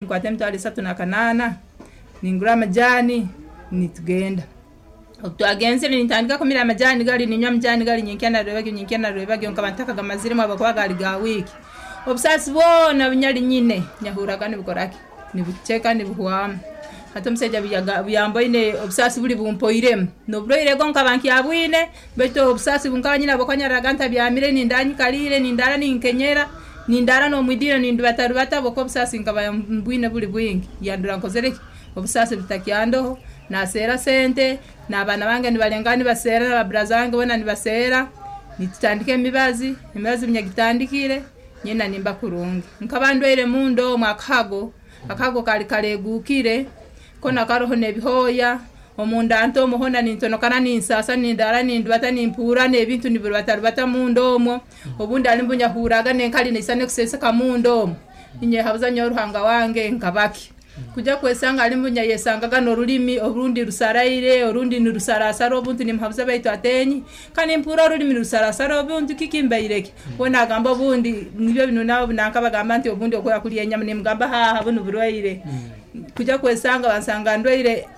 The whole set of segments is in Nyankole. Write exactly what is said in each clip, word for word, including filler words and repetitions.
Nkwata emitwaro esatu na kanaana ningura amajaani nitugenda. Obu twagenzire nintandika kumira amajaani gari ninywa amajaani gari nyenkya na rwebagyo nyenkya na rwebagyo nkaba ntakagamaziremu habwokuba gaari ga wiiki. Obusaasi bwona bunyari nyine nyahurraga nibukora ki, nibuceka nibuhwamu. Hati omusaija obu obu yamboine obusaasi buri bumpoiremu, n'oburwaire bwo nkaba nkyabwine baitu obusaasi bunkaba nyine habwokuba nyaraaraga ntabyamire, nindaara nyikariire, nindaara ninkenyera, nindaara n'omwidiiro nindubatarubata habwokuba obusaasi nkaba mbwine buri bwingi. Yandora nkozire ki, obusaasi butakyandoho, naaseera sente, n'abaana bange nibalengaho nibaseera na baburaza bange boona nibaseera, nitutandika emibazi, emibazi obu nyagitandikire, nyena nimba kurungi. Nkaba ndwaire munda omu akahago, akahago kaali kareeguukire, koona karoho n'ebihooya, omunda nta omu hoona nintonokana ninsaasa nindaara nindubata nimpurra n'ebintu nibirubatarubata munda omwo, obundi harimu obu n'enkari neisana ekuseeseka munda omu, ninyehabuza nyowe Ruhanga wange nkabaki. Kujya kwesanga harimu obu nyayesangaga n'orurimi orundi rusaraire, orundi nirusaraasara obuntu nimuhabuza baitu ateenyi, ka nimpurra orurimi nirusaraasara obuntu kiki mbaire ki? We naagamba obundi nibyo binu nabo nanka bagamba nti obundi okora kurya enyama nimugamba haaha bunu burwaire. Kujya kwesanga bansanga ndwaire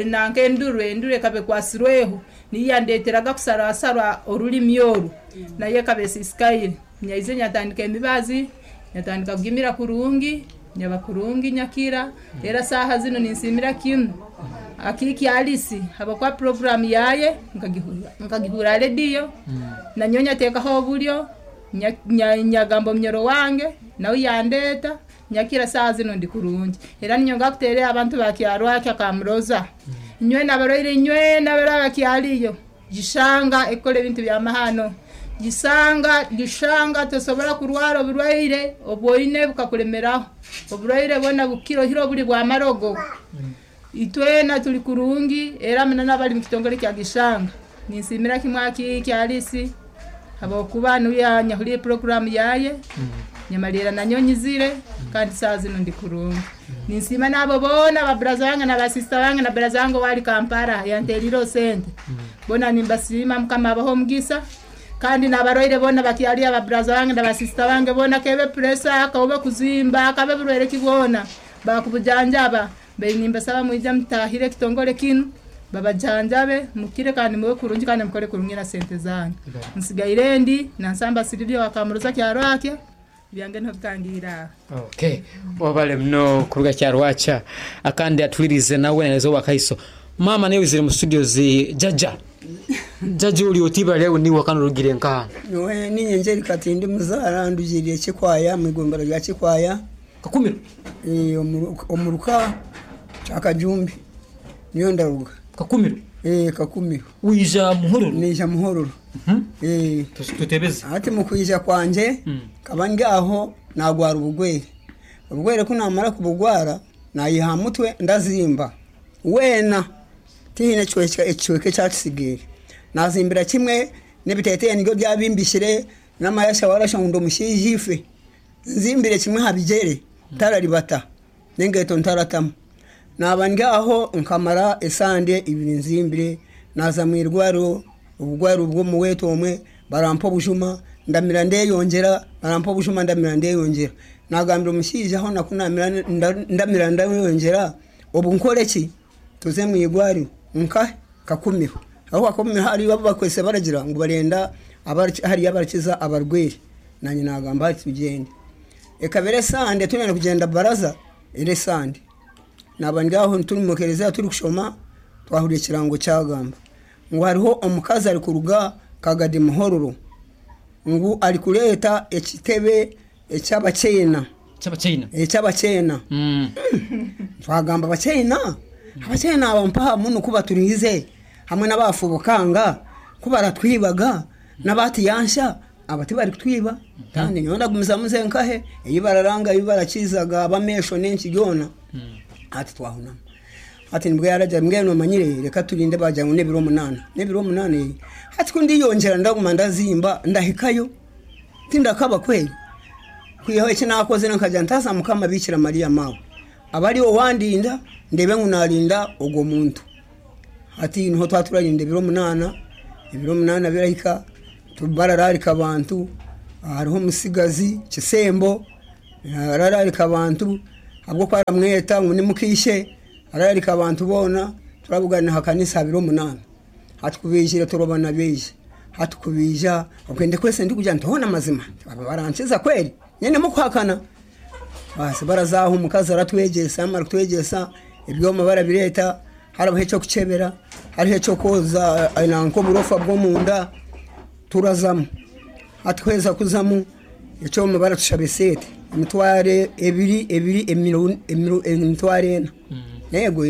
nanka enduru, enduru ekaba ekwasirweho, niyo yandeeteraga kusaraasara orurimi oru, nayo ekaba esiisikaire. Nyaija nyatandika emibazi, nyatandika kugimira kurungi, nyaba kurungi nyakira, era saaha zinu ninsiimira kimu Akiiki Alice habwokuba puroguraamu yaaye nkagihurra nkagihurra ha rediyo, nanyowe nyateekaho oburyo, nyagamba omunyoro wange, nawe yandeeta, nyakira saaha zinu ndi kurungi. Era ninyongera kuteerera abantu ba Kyarwakya Kamuroza, inywena abarwaire inywena abaraba bakyariyo, gishanga ekukora ebintu by'amahano, gisanga gishanga tosobora kurwara oburwaire obu oine bukakulemeraho, oburwaire bwona bukukira oihireho oburi bw'amarogo. Itwena tuli kurungi era muno n'abali mu kitongore kya Gishanga ninsiimira kimu Akiiki Alice habwokuba niwe yanyahuliire puroguraamu yaaye, nyamalirra nanyowe nyizire kandi saaha zinu ndi kurungi. Ninsiima n'abo boona baburaza bange na basiisita bange na buraza wange owaali Kampala yanteeriireho sente, boona nimbasiima Mukama abahe omugisa kandi n'abarwaire boona bakyariyo ababuraza bange na basiisita bange boona kebe pureesa, kabe kuzimba, kabe burwaire ki bwona, baakubujanjaba. Mbaire nimbasaba mwije mutaahire ekitongore kinu, babajanjabe mukire kandi mube kurungi kandi mukore kurungi na sente zanyu. Nsigaire ndi Nansamba Sylvia wa Kamuroza Kyarwakya, ebyange niho bitangiire aho. Okay, wabale muno kuruga Kyarwakya akandi atulirize nawe naza owakaiso. Mama nawe wizire mu studios jaja jaja ori oti ibara lyawe niwe kandi orugire nkaha? Nyowe ninye Njeri Katindi Muzaara, ndugiriire Kikwaya mwigombora rya Kikwaya. Kakumiro. Eh, omu- omuruka Kyakajumbi niyo ndaruga. Kakumiro. Eh, Kakumiro. Wija Muhororo? Nija Muhororo. Eh. Tutebeze. Hati mu kwija kwanje kaba ndi aho nagwara ubugwere. Ubugwere ku namara kubugwara nayiha mutwe ndazimba wena tihine ekicweka ekyakisigaire, nazimbira kimwe n'ebiteteyi nibyo byabimbishire n'amayasha warasha ngu ndi omushaija ife nzimbire kimwe aha bigyere ntararibata n'engaito ntaratamu. Naba ndi aho nkamara esande ibiri nzimbire, naza mwirwariro, obugwaro bw'omuwetu omwe barampa obujuma ndamira ndeyongyera, barampa obujuma ndamira ndeyongyera. Nagambira omushaija aho naku namira ndamira ndeyongyera, obu nkore ki, tuze mwirwariro nka Kakumiro. Aho Kakumiro hariyo abu bakwese baragira ngu barenda hariyo abarakiza abarwaire, nanye nagamba hati tugyende. Ekaba esande turenda kugyenda baraza eri esande. Naba ndi aho turi mu kereziya turi kushoma, twahurira ekirango kyagamba ngu hariho omukazi arikuruga Kagadi Muhororo ngu arikureeta ekitebe eky'abakyena. Eky'abakyena? Eky'abakyena. Twagamba abakyena? Abakyena aba mpaha muno ku baturiize hamwe n'abafubukanga ku baratwibaga n'abatiyansha aba tibarikutwiba, kandi nyowe ndagumizamu nze nkahe ei bararanga ei barakizaga abamesho n'enki byona. Hati twahunama. Hati nibwo yaragira mbwenu omanyire reka turinde bagira ngu n'ebiro munaana, n'ebiro munaana ee. Hati ku ndiyongyera ndaguma ndazimba ndahikayo tindakaba kweri. Kwihaho eki nakozire nkagira ntaza Mukama Bikira Mariya maawe aba ariwe wandinda ndebe ngu narinda ogwo muntu. Hati niho twaturarinda ebiro munaana, ebiro munaana birahika barararika abantu, hariho omusigazi Kisembo arararika abantu. Habwokuba aramweta ngu nimukishe ararika abantu boona turabugana ha kanisa abiri omunaana. Hatukubiijire turobana beije. Hatukubija okwende kwese ndikuja ntona mazima. Barankiza kweli. Nyene mukuhakana. Basi barazaho omukazi aratwegyesa amara kutwegyesa ebyoma barabireta hariho ekyokukyebera hariho ekyokoza nanka oburofa bw'omunda turazamu. Hatuhweza kuzamu ekyoma baratushaba esente emitwaro ebiri ebiri emitwaro ena. Yego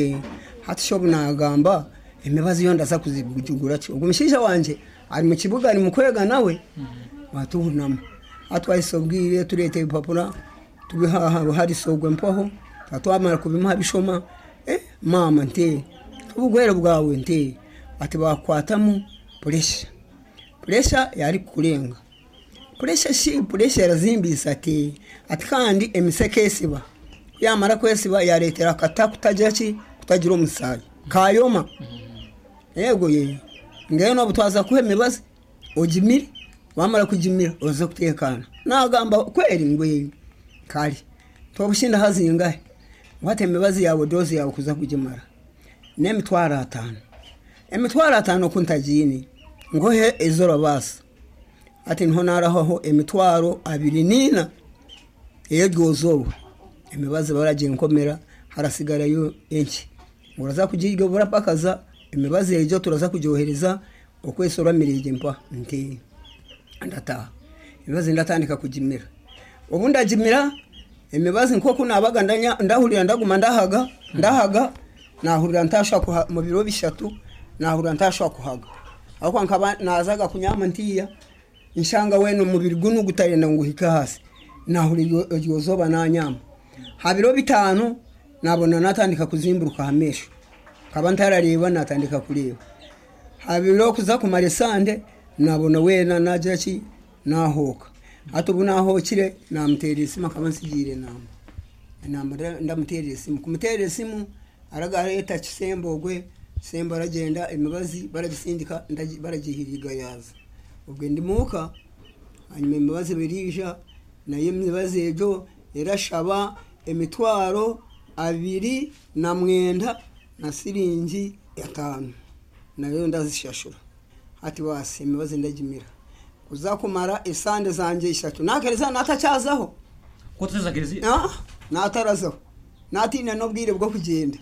hatusha obu nagamba emibazi yo ndaza kuzigura ki. Ogu mushaija wangye ari mu kibuga ari mu kwega nawe batuhunamu. Hatwahisa obwire tureeta ebipapura tubihaha harisogwe mpaho twamara kubimuha bishoma eh mama nte obugwere bwawe nte ati bakwatamu pressure. Pressure yari kurenga. Pressure shi pressure yarazimbisa ati ati kandi emiseke esiba. Yamara kwesiba yaretera kata kutagira ki kutagira omusaayi. Kayoma. Yego ye. Ngeno obutwaza kuhe emibazi ogimire wamara kugimira oza kutekana. Nagamba kweri ngwe kali. Tobushinda hazingahe. Wate emibazi yawe dozi yawe kuza kugimara. N'emitwaro atano. Emitwaro atano kuntagiini ngohe ezora basa. Ati niho naraho emitwaro abiri nina ey'eryozoba. Emibazi baragiye nkomera harasigarayo enki. Uraza kugirya burapakaza emibazi egyo turaza kugyohereza okwesora mirege mpa nti ndataha. Emibazi ndatandika kugimira. Obu ndagimira emibazi nkoku nabaga ndahurira ndaguma ndahaga ndahaga nahurira ntasha kuha mu biro bishatu nahurira ntasha kuhaga. Aho nkaba nazaga kunyama ntiya nshanga wene umubiri gunu gutarenda nguhika hasi. Nahurira iryo nanyama. Ha biro bitano nabona natandika kuzimburuka hamesho. Kaba ntarareba natandika kureba. Ha biro kuza kumara esande nabona wena nagira ki nahoka. Hati ubu nahokire namutera esimu akaba nsigiire enamba. Enamba ndamutera esimu. Kumutera esimu aragareta kisembo ogwe kisembo aragenda emibazi baragisindika baragihiriga yaza. Ubwo ndimuka hanyuma emibazi birija nayo emibazi egyo erashaba emitwaro abiri na mwenda na siringi atano. Nayo ndazishashura. Hati basi emibazi ndagimira. Kuza kumara esande zanje ishatu. Nakereza natacyazaho. Koteza gereza? Ah, natarazaho. Natina n'obwire bwo kugenda.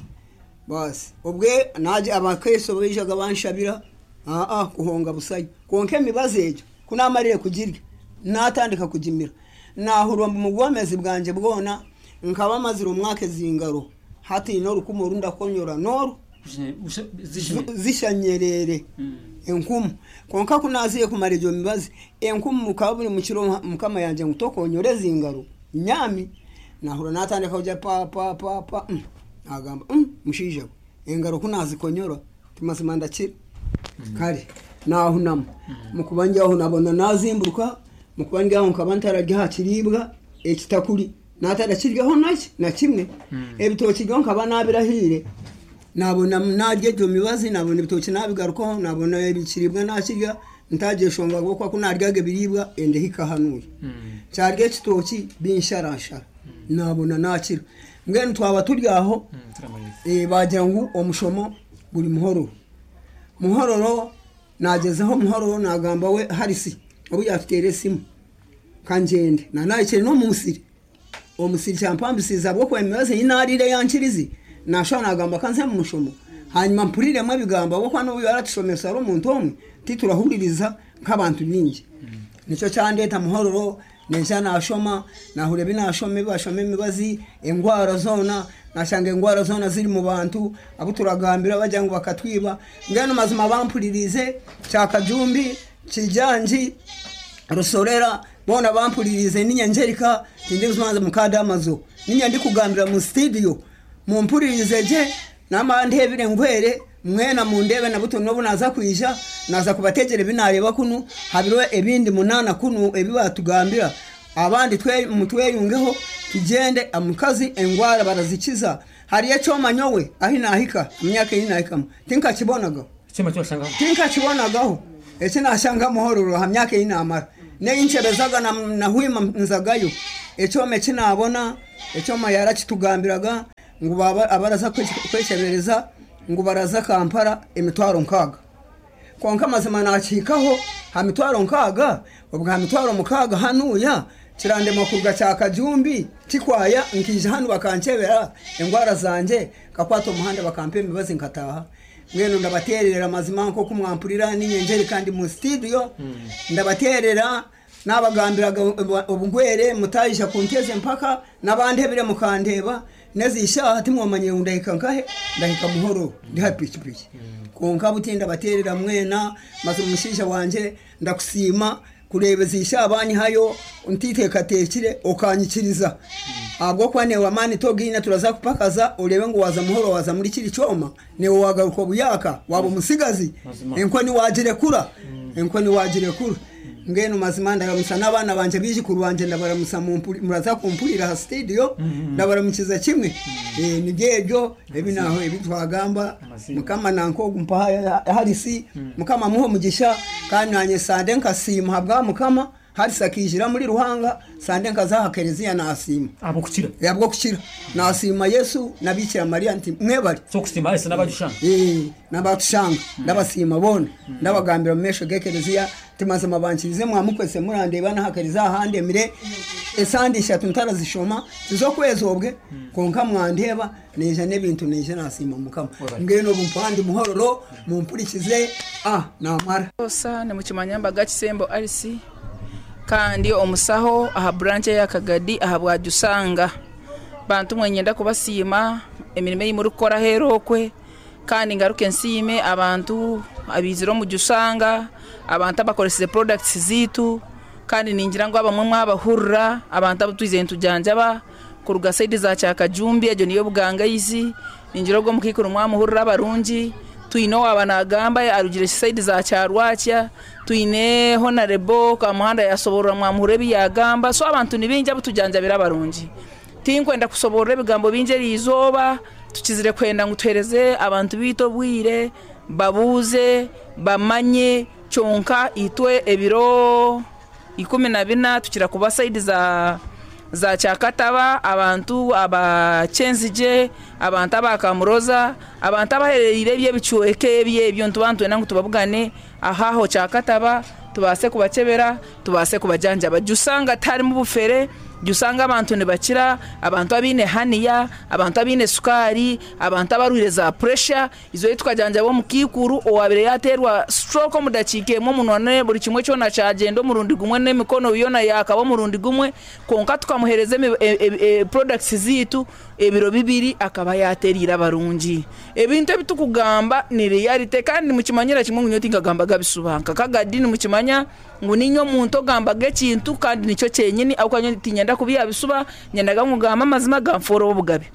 Basi obwe naje abakeso bijaga banshabira ah ah kuhonga busayo. Konke emibazi egyo kunamarire kugirya natandika kugimira. Nahurwa mu bwomezi bwanje bwona nkaba mazira umwaka zingaro. Hati norukumu runda konyora noru zishanyerere enkumu. Konka kunaziye kumara egyo mibazi enkumu mukaba buri mukiro mukama yanje ngutokonyore zingaro nyami. Nahura natandika kuja pa pa pa pa mm. Agamba mm, mushaija engaro kunazikonyora timazima ndakira. Kale nahunama mukubanja nabona nazimburuka mukubanja nkaba ntararya hakiribwa ekitakuri natarakiryaho naki na kimwe. Ebitoki byo nkaba nabirahire nabona narya egyo mibazi nabona ebitoki nabigarukaho nabona ebikiribwa nakirya ntageshonga kuko kunaryaga ebiribwa endehika hanuye. Kyarya ekitoki binsharashara nabona nakira. Mbwenu twaba turyaho eh bagira ngu omushomo guri muhororo. Muhororo nagezeho muhororo nagamba we harisi obu yatutere esimu kanjende nanayikire no musiri. Omusiri kyampambisiza bwo kwemibazi inarire yankirizi nasha nagamba kanze mu mushomo. Hanyuma mpuriremo ebigamba bwo kwano yaratushomesa ari omuntu omwe titurahuririza nk'abantu bingi. Nicyo cyandeta muhororo nenja nashoma nahure binashome bashome emibazi engwara zona nashanga engwara zona ziri mu bantu abo turagambira bajya ngo bakatwiba. Ngeno mazima bampuririze cyakajumbi kijanji rusorera bona bampuririze ninyanjerika tindi kumanza mukada amazo ninya ndi kugambira mu studio mumpuririze je namandebire ngwere mwena mundebe na buto nobu naza kwija naza kubategere binareba kunu habiro ebindi munana kunu ebibatugambira abandi twe mutweyungeho tugende amukazi engwara barazikiza. Hari ecyoma nyowe ahi nahika imyaka iri nahikamo tinka kibonaga cyoma cyo sanga tinka kibonagaho eki nashanga muhororo ha myaka iri namara Neyinchebezaga na nahwima nzagayo ekyoma ekinabona ekyoma yarakitugambiraga ngu baba abaraza kwechebereza ngu baraza Kampala emitwaro nkaga. Konka mazima nakikaho ha mitwaro nkaga, obwa ha mitwaro mukaga hanuya kirande makurga cya Kajumbi kikwaya nkije hano bakancebera engwara zanje kakwata omuhanda bakampa emibazi nkataha. Mweno ndabaterera mazima nko kumwampurira n'inyenjeri kandi mu studio ndabaterera nabagambiraga obugwere mutayisha kunteze mpaka nabandebire mukandeba nezishaha timwomanye ndahika nkahe ndahika muhoro ndi happy piki. Konka butinda baterera mwena maze umushisha wanje ndakusima kurebezisha abanyi hayo ntitekatekire okanyikiriza agwo kwane wa mani togina turaza kupakaza urebe ngo waza muhoro waza muri kiri cyoma ne wagaruko buyaka wabo musigazi enkoni wagire kura enkoni wagire kura. Ngeno mazima ndaramusa n'abana banje bije kurwanje ndabaramusa muraza kumpurira ha studio ndabaramukiza kimwe eh nibyejo ebi naho ebi twagamba mukama nanko gumpa harisi mukama muho mugisha kandi nanye sande nkasima habwa mukama harisa kijira muri Ruhanga sande nkazaha kereziya nasima abo kukira yabwo kukira nasima Yesu nabikira Maria nti mwebali so kusima Yesu nabadushanga eh nabatushanga ndabasima bona ndabagambira mesho gekereziya timazima bankirize mwamukwese murandeba nahakeriza ahande mire esandisha tuntarazishoma tizokwezobwe konka mwandeba neje nebintu neje nasima mukama ngeno bumpandi muhororo mumpurikize ah namara osa ne mukimanyamba Kisembo Alice kandi omusaho aha branch ya Kagadi aha bwajusanga bantu mwenyenda kubasiima emirimo eyimuri kukora hero okwe kandi ngaruke nsime abantu abizira omujusanga abantu abakoreseze products zitu kandi ningira ngo abamwe mwabahurra abantu abutwize ntujanjaba kuruga side za Kyakajumbi ejo niyo buganga izi ningira ubwo mukikuru mwamuhurra abarungi twine wabanagamba arugire side za Kyarwakya twine honorable Kamuhanda yasoborora mwamuhure biyagamba so abantu nibinja butujanjabira abarungi tinkwenda kusoborora ebigambo binje rizoba tukizire kwenda ngutereze abantu bito bwire babuze bamanye cyonka itwe ebiro ikumi na bina tukira kuba side za za Kyakataba abantu abachenzije abantu abakamuroza abantu abahererire bye bicueke ebye ebyo ntubantu nangu tubabugane ahaho Kyakataba tubase kubakebera tubase kubajanja bajusanga tari mu bufere jusanga abantu nibakira abantu abine haniya abantu abine sukari abantu abarwire za pressure izo yitwajanja bo mukikuru owabire yaterwa stroke mudakike mu munone buri kimwe cyo na cyagenda murundi gumwe n'emikono yona yakaba murundi gumwe konka tukamuhereza e, e, e, products zitu ebiro bibiri akaba yaterira barungi ebintu ebitukugamba ni reality kandi mukimanyira kimwe ngunyoti ngagamba gabisubanka kagadini mukimanya ngu ninyo muntu ogamba gekintu kandi nicyo cyenyini aho tinyenda kubiya bisuba nyendaga ngugamba amazima gamforo obugabe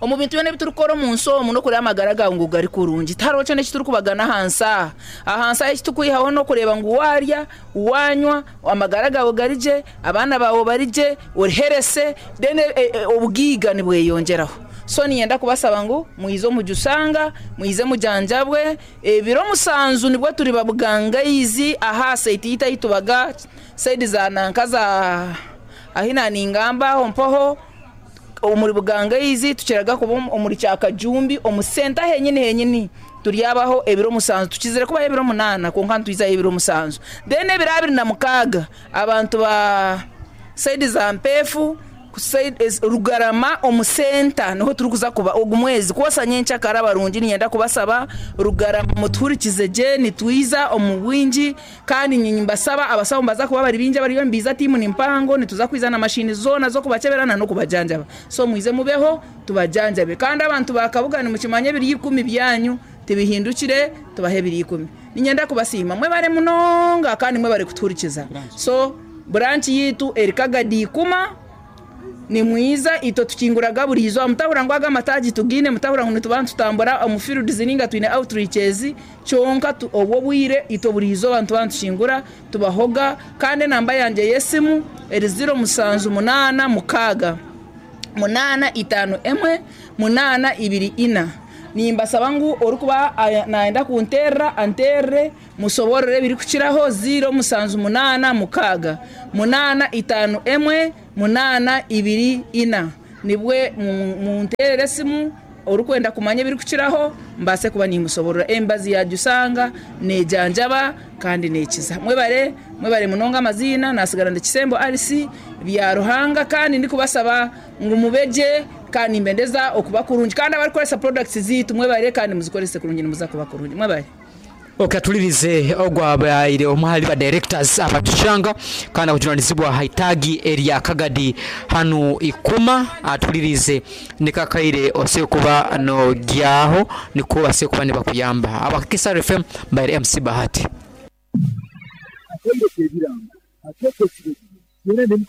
omu bintu byone biturukora mu nsomo no kureba amagara gawe ngo gari kurungi taro cyo nekituri kubagana hansa ahansa ekitukwihaho no kureba ngo warya wanywa amagara gawe garije abana bawe barije uriherese then e, e, obwiga nibweyongeraho so niyenda kubasaba ngo muizo mujusanga muize mujanjabwe ebiro musanzu nibwo turi babuganga izi aha site yita yitubaga side za nanka za ahina ningamba hompoho omuri buganga izi tukiraga kuba omuri Kyakajumbi omusenta henyini henyini turyabaho ebiro musanzu tukizire kuba ebiro munana konka ntwiza ebiro musanzu then ebiro abiri na mukaga abantu ba side za mpefu Rugarama omusenta niho turukuza kuba ogumwezi kwosa nyencha karabarungi niyenda kubasaba Rugarama muturikize je nitwiza omuwinji kandi nyimbasaba abasaba mbaza kuba bari binja bari mbiza timu ni mpango nituza kwizana mashini zona zo kubaceberana no kubajanjaba so mwize mubeho tubajanjabe kandi abantu bakabugana mukimanye biri ikumi byanyu tibihindukire tubahe biri ikumi ninyenda kubasima mwe bare munonga kandi mwe bare kuturikiza so branch yitu erikagadi kuma ni mwiza ito tukinguraga buri izo mutahura ngo agamataji tugine mutahura ngo tubantu tutambura omufiru dizininga twine outreaches cyonka obwo bwire ito buri izo bantu bantu shingura tubahoga kandi namba yanje yesimu eri zero musanzu munana mukaga munana itano emwe munana ibiri ina Nimbasaba ngu orikuba aya- nayenda kunterera anterere, musoborere ebirikukiraho ziro musanju munaana mukaaga munaana itaano emwe munaana ibiri ina, nibwe mu- munterere esimu orikwenda kumanya ebirikukiraho, mbase kuba nimusoborora. Embazi yajusanga nejanjaba kandi nekiza. Mwebare, mwebare munonga. Amaziina nasigara ndi Kisembo Alice bya Ruhanga, kandi ndikubasaba ngu mubeje kandi nimbendeza okuba kurungi, kandi abarikukoresa products ziitu mwebare, kandi muzikorese kurungi, nimuza kuba kurungi. Mwebare. Okay, atulirize ogwabaire omwe hali ba directors abatushanga kandi akujunanizibwa haitagi erya Kagadi hanu ikuma. Atulirize nikakaire ose kuba nogyaho niko base kuba nibakuyamba. Abakisa F M by M C Bahati.